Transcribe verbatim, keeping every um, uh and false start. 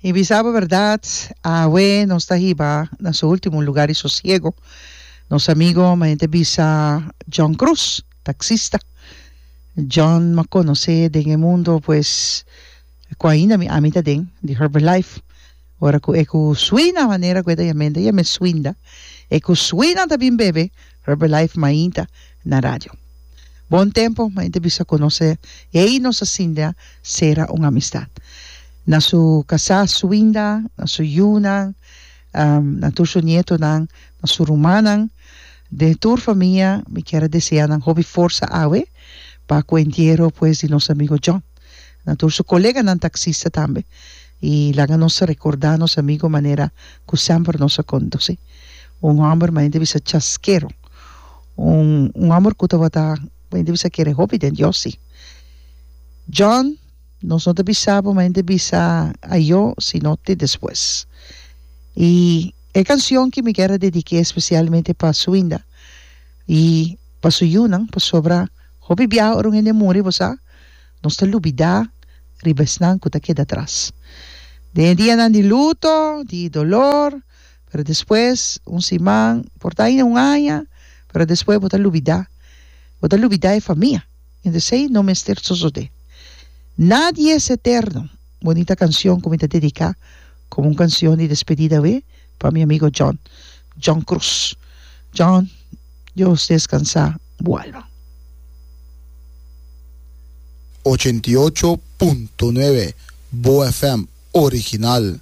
I bisa bo bèrdat, awe nos ta hiba na su último lugá di sosiego nos amigo, mi ta bisa, John Cruz, taksista. John m'a konosé den e mundo, pues, ku ainda mi ami ta den, di Herbalife. Ora ku e ku Swina, manera ku e ta yam'é, yam'é Swinda. E ku Swina ta bin bebe Herbalife mainta na radio. Bon tempu, mi ta bisa konosé, i ei nos a sinta sera un amistat. Na su kasá Swinda, na su yunan, um, na tur su nietonan, na su rumannan, di tur famia, mi ke deseá nan hopi forsa awe, pa ku entiero, pues, di nos amigo John. Na tur su koleganan taksista tambe. I laga nos rekordá nos amigo manera ku semper nos a konosé. Un hòmber, mi ta bisa chaskero. Un, un hòmber ku tabata, mi ta bisa kere hopi den Dios, sí. John, nos no ta bisa bo, mi ta bisa ayo, sino te despues. I e kanshon ku mi ke dediká spesialmente pa Swinda i pa su yunan, pasobra hopi bia ora un hende muri, bo sa, nos ta lubidá riba esnan ku ta keda atras. Den dianan di luto, di doló, pero despues un siman, por ta un aña, pero despues bo ta lubidá. Bo ta lubidá e famia. Entonses, no mester sosodé. Nadie es eterno. Bunita kanshon ku mi ta dediká komo un kanshon di despedida, we, pa mi amigo John, John Cruz. John, Dios deskansá bo alma. ochenta i ocho punto nuebe Bo F M original.